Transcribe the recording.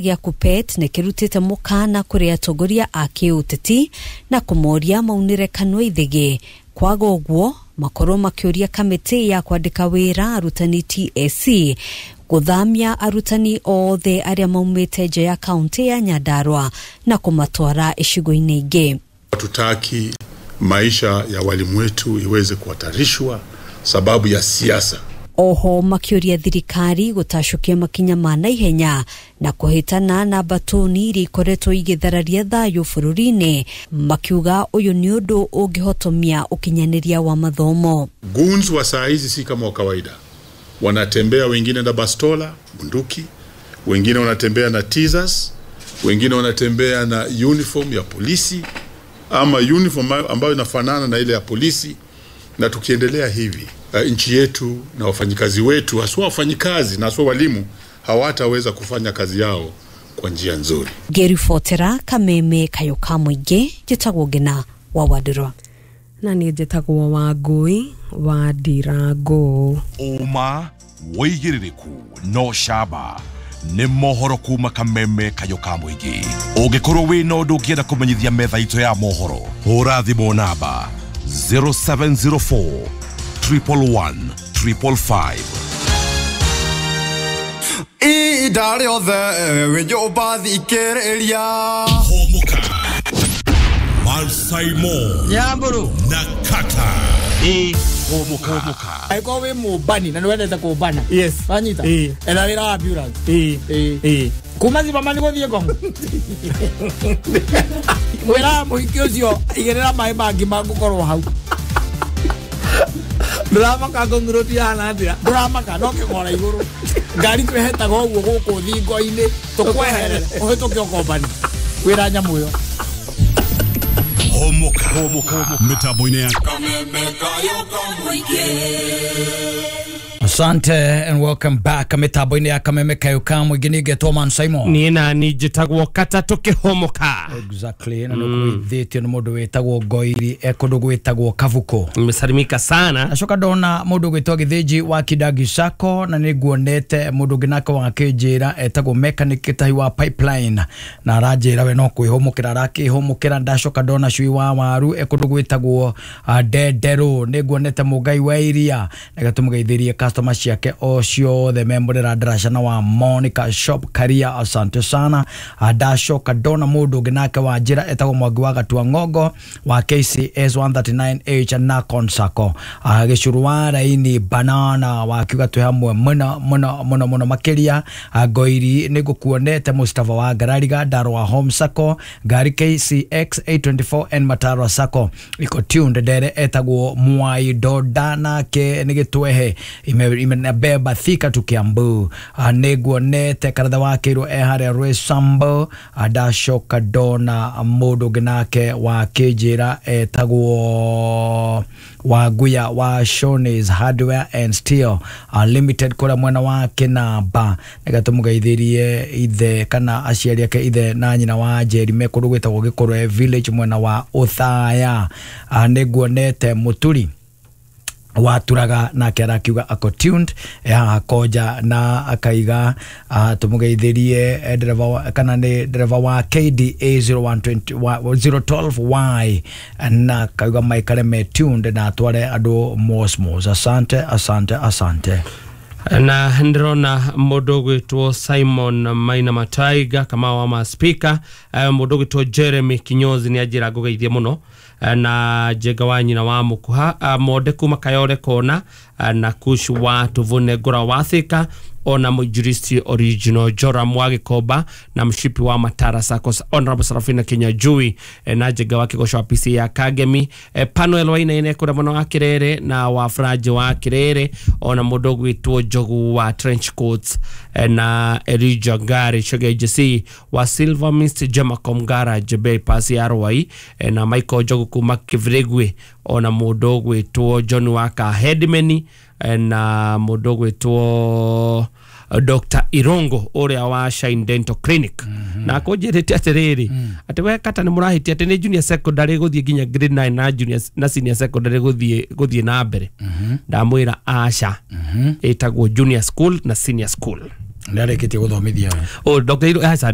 Gĩa KUPPET nĩ kĩrutĩte mũkana kũrĩ atongoria a kĩũteti na kũmoria maunĩre kanua ithĩgĩ, kwaga ũguo makorwo makĩũria kamĩtĩ ya kwandĩka wĩra arutani TSC gũthamia arutani othe arĩa maumĩte nja ya kaunti ya Nyandarua na kũmatwara icigo-inĩ ingĩ. Hatutaki maisha ya walimu wetu iweze kuhatarishwa sababu ya siasa. Oho makĩũria thirikari gũtacũkia makinya ma naihenya na kũhĩtana na mbatũni iria ikoretwo igĩthararia thayũ bũrũri-inĩ, makiuga ũyũ nĩ ũndũ ũngĩhotomia ũkinyanĩria wa mathomo. Goons wa saa hizi si kama wa kawaida, wanatembea wengine na bastola bunduki, wengine wanatembea na teasers, wengine wanatembea na uniform ya polisi ama uniform ambayo inafanana na ile ya polisi. Na tukiendelea hivi nchi yetu na wafanyikazi wetu, haswa wafanyikazi na haswa walimu, hawataweza kufanya kazi yao kwa njia nzuri. Ngĩribotera Kameme Kayo ka Mũingĩ, njĩtagwo Ngina wa Wandirwa. Na niĩ njĩtagwo Wangũi wa Ndirango. Ũma wĩigĩrĩrĩku no camba nĩ mohoro kuma Kameme Kayo ka Mũingĩ. Ũngĩkorwo wĩna ũndũ ũngĩenda kũmenyithia metha itũ ya mohoro, hũra thimũ namba 0704 111 555. Ihinda rĩothe wĩ nyũmba thikĩrĩria. Homoka Malsaimo Nyamburu na Kata. Homoka. Angĩkorwo wĩ mũmbani na nĩ wendete kũmbana. Yes. Wanyita? Ĩĩ. Etha wĩra wa ambulance. Ĩĩ. Ĩĩ. Ĩĩ. Kuma Zimmerman gũthiĩ Ngong. Wĩra mũhiki ũcio igĩrĩra maĩ mangĩ mangũkorwo hau. Ndũramaka Ngong Road ihana atĩa? Ndũramaka no kĩgora igũrũ. Ngari twĩhetaga ũguo gũkũ thingo-inĩ tũkweherere ũhĩtũke ũkombani. Wĩra nyamũ ĩyo. Homoka. Homoka. Mitambo-inĩ ya Asante and welcome back mitambo-inĩ ya Kameme Kayo ka Mũingĩ. Niĩ ngetwo Man Simon. Niĩ nani njĩtagwo Kata tũkĩhomoka. Exactly, na nĩkũgeithĩtio nĩ mũndũ wĩtagwo Ngoiri e kũndũ gwĩtagwo Kabuko. Nimesalimika sana. Acoka ndona mũndũ ũgwĩtwo Gĩthĩnji wa Kidangi Sacco, na nĩ nguonete mũndũ ũngĩ nake wakĩnjĩra etagwo mechanic Gĩtahi wa Pipeline, na aranjĩra we no kwĩhũmũkĩra arakĩhũmũkĩra. Ndacoka ndona Cui wa Waru e kũndũ gwĩtagwo Ndenderũ. Nĩ nguonete Mũngai wa Iria na tũmũgeithĩrie customer ciake o ciothe memũrĩra ndaraca na wa Monica Shop Karia, asante sana. Ndacoka ndona mũndũ ũngĩ nake wa njĩra etagwo Mwangi wa Gatua Ng'ongo wa KCS 139H na Consacco, Gĩcuru wa Raini Banana wakiuga twĩ hamwe mũno mũno mũno mũno makĩria. Ngoiri nĩ ngũkuonete Mustafa wa Ngarariga Ndarwa Home Sacco, ngari KCX 824N Matarwa Sacco iko tuned. Ndere etagwo Mwai Doda nake nĩ gĩtwehe imebeba Thika tu Kiambu. Nĩ nguonete Karatha wa Kĩirwo e harĩa Rwĩsambo. Ndacoka ndona mũndũ ũngĩ nake wa kĩnjĩra etagwo Wanguya wa Shoney's Hardware and Steel Limited kũrĩa mwena wa Kĩnamba, nĩgetha tũmũgeithĩrie ithe kana aciari ake ithe na nyina wa Njeri me kũndũ gwĩtagwo Gĩkũrwe Village mwena wa Othaya. Nĩ nguonete Mũturi waturaga nake arakiuga ako tuned haha Konja, na akaiga tumugeithirie ndereba kana nĩ ndereba wa KDA 0120 012Y, na akauga maikare me tuned na atware andũ mosmos. Asante, asante, asante. Na ndĩrona mũndũ ũgwĩtwo Simon Maina Mataiga kama wa ma speaker, mũndũ ũgwĩtwo Jeremy Kinyozi nĩ anjĩra ngũgeithie mũno, na Njenga wa nyina wa Mũkuha, Monde kuma Kayore Kona, na Kush wa Tuvune Ngũra wa Thika, ona Mũinjilisti original Joram wa Gĩkomba na mshipi wa Matara Saccos Honorable Sarafina Kinyajui, na Njenga wa Kĩgoco wa PC ya Kagemi, Panuel Wainaine kũrĩa mwena wa Kĩrere na wa Franji wa Kĩrere, ona mũndũ ũgwĩtwo Njogu wa Trench Coats, na Elijah Ngari Chege JC wa Silver Mist Jamacom Garage Bypass ya Rwai, na Michael Njogu kuma Kivregwe, ona mũndũ ũgwĩtwo John Waka Headman, na mũndũ ũgwĩtwo Dr. Irongo ũrĩa wa Shine Dental Clinic. Na kũnjĩrĩte atĩrĩrĩ atĩ we Kata nĩ mũrahĩtia atĩ nĩ junior secondary gũthiĩ nginya grade 9 na junior na senior secondary gũthiĩ na mbere. Ndamwĩra aca, ĩtagwo junior school na senior school. Nĩ arĩkĩtie gũthomithia we. Oh, Dr. Iru aca.